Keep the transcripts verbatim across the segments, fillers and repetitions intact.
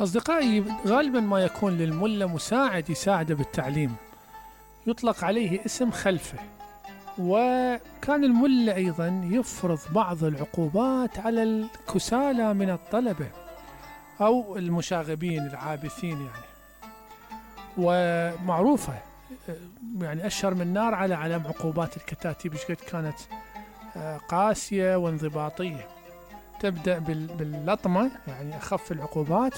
أصدقائي، غالبا ما يكون للملا مساعد يساعده بالتعليم، يطلق عليه اسم خلفه. وكان الملا أيضا يفرض بعض العقوبات على الكسالى من الطلبة أو المشاغبين العابثين يعني. ومعروفة يعني أشهر من نار على علم عقوبات الكتاتيب، قد كانت قاسية وانضباطية. تبدأ باللطمة يعني أخف العقوبات،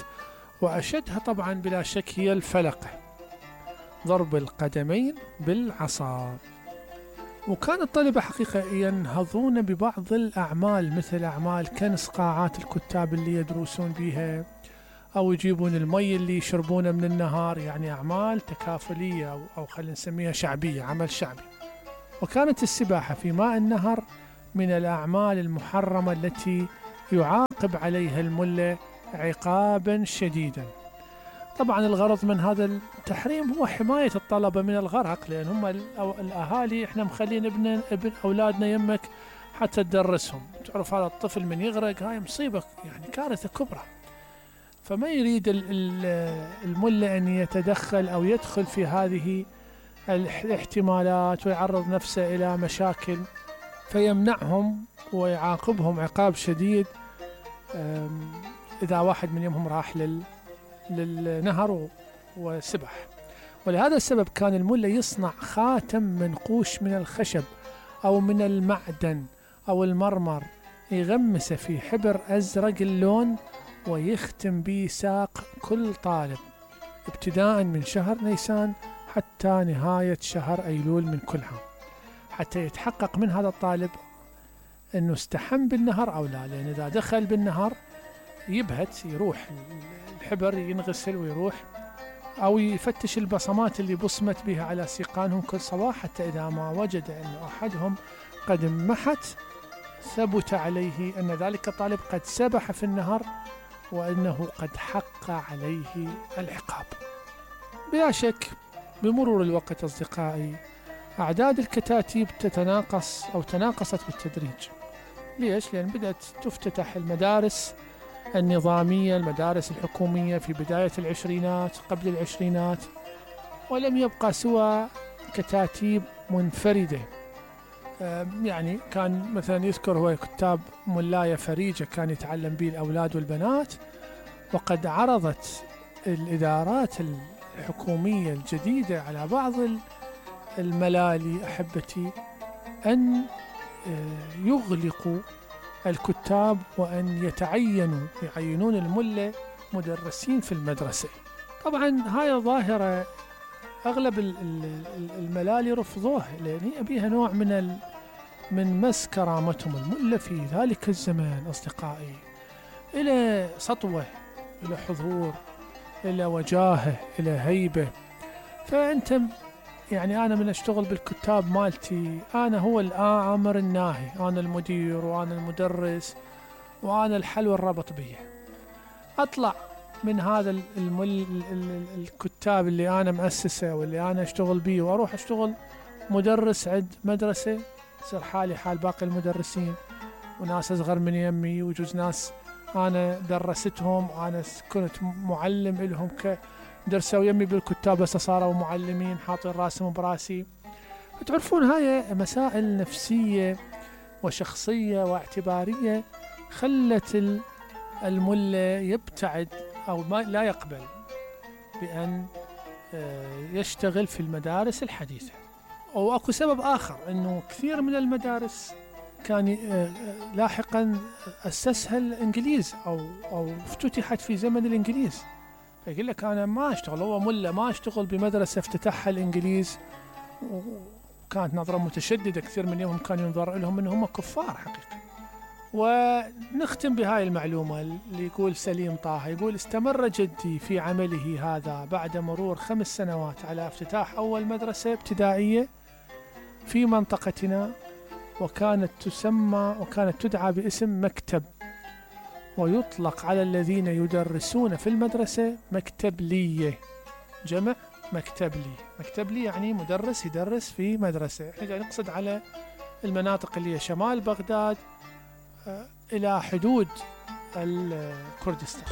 وأشدها طبعا بلا شك هي الفلقة، ضرب القدمين بالعصا. وكان الطلبة حقيقة ينهضون ببعض الأعمال، مثل أعمال كنس قاعات الكتاب اللي يدرسون بها، أو يجيبون المي اللي يشربونه من النهار، يعني أعمال تكافلية أو, أو خلينا نسميها شعبية، عمل شعبي. وكانت السباحة في ماء النهر من الأعمال المحرمة التي يعاقب عليها الملا عقابا شديدا. طبعا الغرض من هذا التحريم هو حماية الطلبة من الغرق، لأن هم الأهالي إحنا مخلين ابن, ابن أولادنا يمك حتى تدرسهم. تعرف هذا الطفل من يغرق هاي مصيبة، يعني كارثة كبرى. فما يريد الملا أن يتدخل أو يدخل في هذه الاحتمالات ويعرض نفسه إلى مشاكل، فيمنعهم ويعاقبهم عقاب شديد إذا واحد من يومهم راح لل للنهر وسبح. ولهذا السبب كان الملا يصنع خاتم منقوش من الخشب أو من المعدن أو المرمر، يغمسه في حبر أزرق اللون ويختم به ساق كل طالب ابتداء من شهر نيسان حتى نهاية شهر أيلول من كل عام، حتى يتحقق من هذا الطالب أنه استحم بالنهر أو لا. لأن إذا دخل بالنهر يبهت، يروح الحبر ينغسل ويروح، أو يفتش البصمات اللي بصمت بها على سيقانهم كل صباح، حتى إذا ما وجد أن أحدهم قد انمحت ثبت عليه أن ذلك الطالب قد سبح في النهر وأنه قد حق عليه العقاب. بلا شك بمرور الوقت أصدقائي أعداد الكتاتيب تتناقص أو تناقصت بالتدريج. ليش؟ لأن بدأت تفتتح المدارس النظامية، المدارس الحكومية في بداية العشرينات قبل العشرينات، ولم يبقى سوى كتاتيب منفردة. يعني كان مثلا يذكر هو كتاب ملاية فريجة كان يتعلم به الأولاد والبنات، وقد عرضت الإدارات الحكومية الجديدة على بعض الملالي أحبتي أن يغلقوا الكتاب وأن يتعينوا يعينون الملا مدرسين في المدرسة. طبعا هاي ظاهرة أغلب الملالي رفضوها، لأن بها نوع من من مس كرامتهم. الملا في ذلك الزمان أصدقائي إلى سطوة، إلى حضور، إلى وجاهة، إلى هيبة. فأنت يعني أنا من أشتغل بالكتاب مالتي أنا هو الآمر الناهي، أنا المدير وأنا المدرس وأنا الحل والربط بيه. أطلع من هذا المل الكتاب اللي أنا مؤسسه واللي أنا أشتغل بيه، وأروح أشتغل مدرس عند مدرسة، يصير حالي حال باقي المدرسين، وناس أصغر من يمي، ويجوز ناس أنا درستهم، أنا كنت معلم لهم كدرسوا يمي بالكتاب بس صاروا معلمين حاطين راسهم براسي. تعرفون هاي مسائل نفسية وشخصية واعتبارية خلت الملا يبتعد أو ما لا يقبل بأن يشتغل في المدارس الحديثة. وأكو سبب آخر، أنه كثير من المدارس كان لاحقا أسسها الإنجليز أو أو افتتحت في زمن الإنجليز. فيقول لك أنا ما أشتغل، هو ملا ما أشتغل بمدرسة افتتحها الإنجليز، وكانت نظرة متشددة، كثير من يومهم كان ينظر لهم أنهم كفار حقيقة. ونختم بهاي المعلومة اللي يقول سليم طه، يقول استمر جدي في عمله هذا بعد مرور خمس سنوات على افتتاح أول مدرسة ابتدائية في منطقتنا، وكانت تسمى وكانت تدعى باسم مكتب، ويطلق على الذين يدرسون في المدرسة مكتبلية، جمع مكتبلي. مكتبلي يعني مدرس يدرس في مدرسة. احنا نقصد على المناطق اللي هي شمال بغداد إلى حدود الكردستان.